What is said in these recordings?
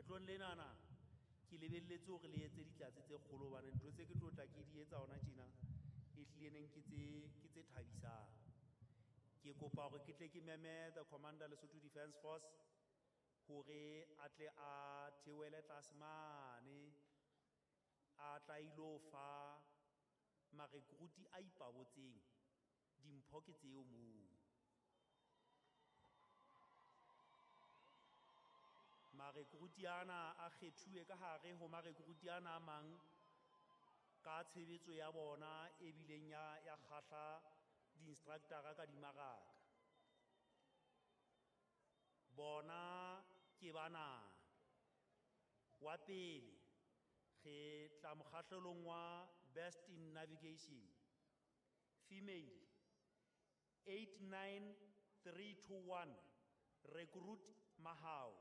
Kgetlong lenana ke lebelletse hore le etse ditlatse tse kgolo hobane ntho tse ke tlo tla ke di etsa hona tjena e hlile neng ke tse thabisang. Ke kopa hore ke tle ke meme the Commander Lesotho Defence Force hore a tle a theohele tlase mane, a tla ilo fa marekruti a ipabotseng dimpho ke tseo moo. Marekruti ana a kgethuwe ka hare ho marekruti ana a mang ka tshebetso ya bona e bileng ya kgahla di-instructor-a ka dimaraka. Bona ke bana. Wa pele re tla mokgahlelong wa Best in Navigation, female 89321, Recruit Mahao.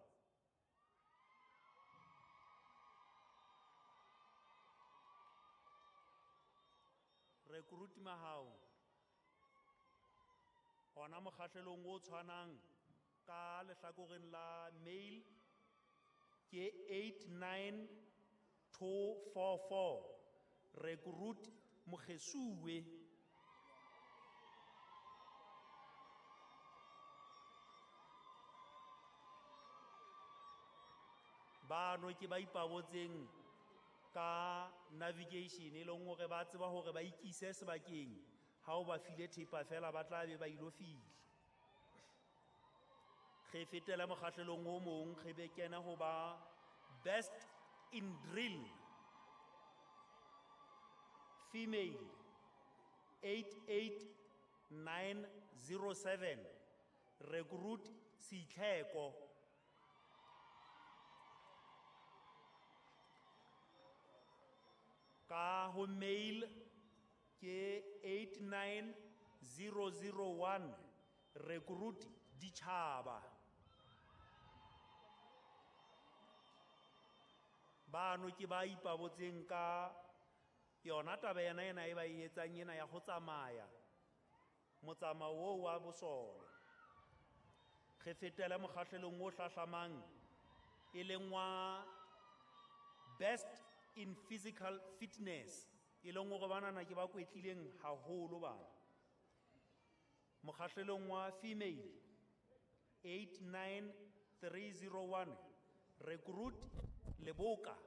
Recruit Mahao. Hona mokgahlelong o tshwanang ka lehlakoreng la male ke 89244, Recruit Mokgesuwe. Bano ke ba ipabotseng ka navigation e leng hore ba tseba hore ba ikise sebakeng ha o ba file thepa fela ba tla be ba ilo fihla. Re fetela mokgahlelong o mong, re be kena ho ba Best in Drill, female 88907, Recruit Sitlheko. Ka ho male ke 89001, Recruit Ditjhaba. Bano ke ba ipabotseng ka yona taba ena ena e ba e etsang ena ya ho tsamaya motsamao oo wa bosole. Re fetele mokgahlelong o hlahlamang e leng wa Best in Physical Fitness, e leng hore banana ke ba kwetlileng haholo bana. Mokgahlelong wa female 89301, Recruit Leboka.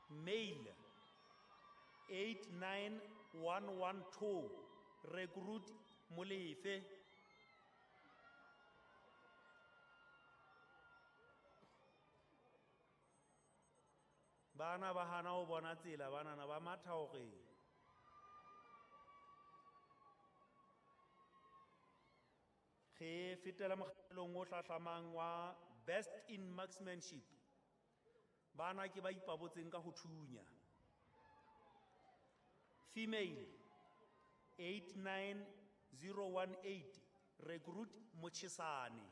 Male 89112, Recruit Molefe. Bana ba hana ho bona tsela, banana ba matha hore re fetela mokgahlelong o hlahlamang wa Best in Marksmanship. Bana ke ba ipabotseng ka ho thunya. Female 89018, Recruit Motjhesane.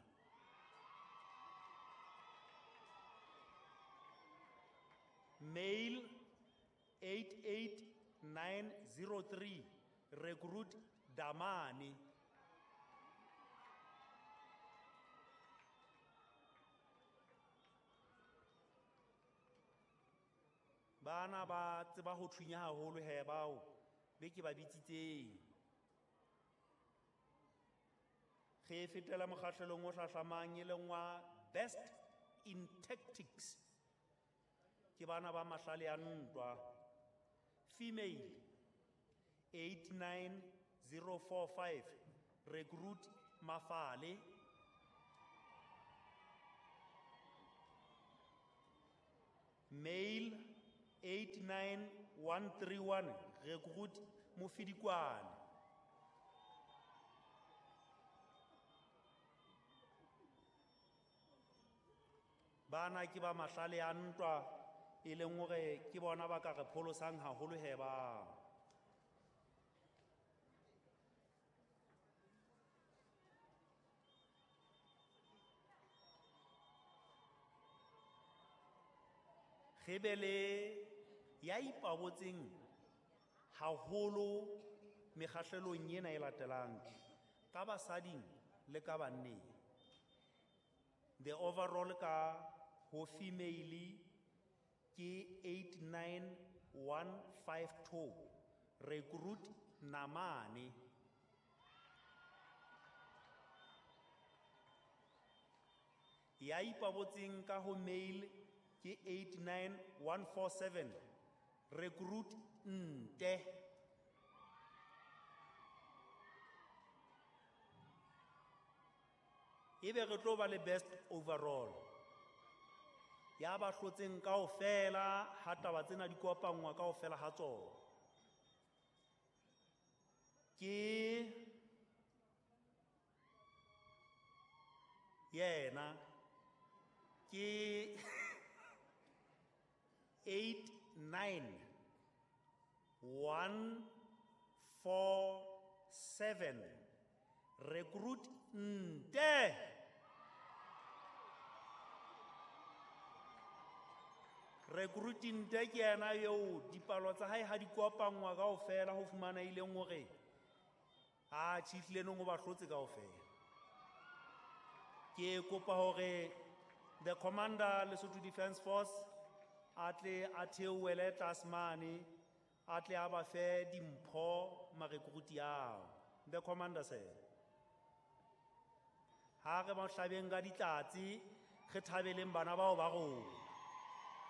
Male 88903, Recruit Damane. Bana ba tseba ho thunya haholo he bao be ke ba bitsitseng. Re fetela mokgahlelong o hlahlamang e leng wa Best in Tactics. Ke bana ba mahlale a ntwa. Female 89045, Recruit Mafale. Male 89131, Recruit Mofidikwane. Bana ke ba mahlale a ntwa e leng hore ke bona ba ka re pholosang haholo he ba. Re be le ya ipabotseng haholo mekgahlelong ena e latelang. Ka basading le ka banneng. The overall ka ho female ke 89152, recruit Namane. Ya ipabotseng ka ho male ke 89147, recruit Nte. Ebe re tlo ba le best overall. Ya ba hlotseng kaofela ha taba tsena di kopanngwa kaofela ha tsona. Ke yena ke 89147, recruit Nte. Recruit Nte ke yena eo dipalo tsa hae ha di kopanngwa kaofela ho fumana e leng hore a tjhihlile nong o ba hlotse kaofela. Ke kopa hore the commander Lesotho Defence Force a tle a theohele tlase mane, a tle a ba fe dimpho marekruti ao. The commander sir. Ha re ba hlabeng ka ditlatse, re thabeleng bana bao ba rona.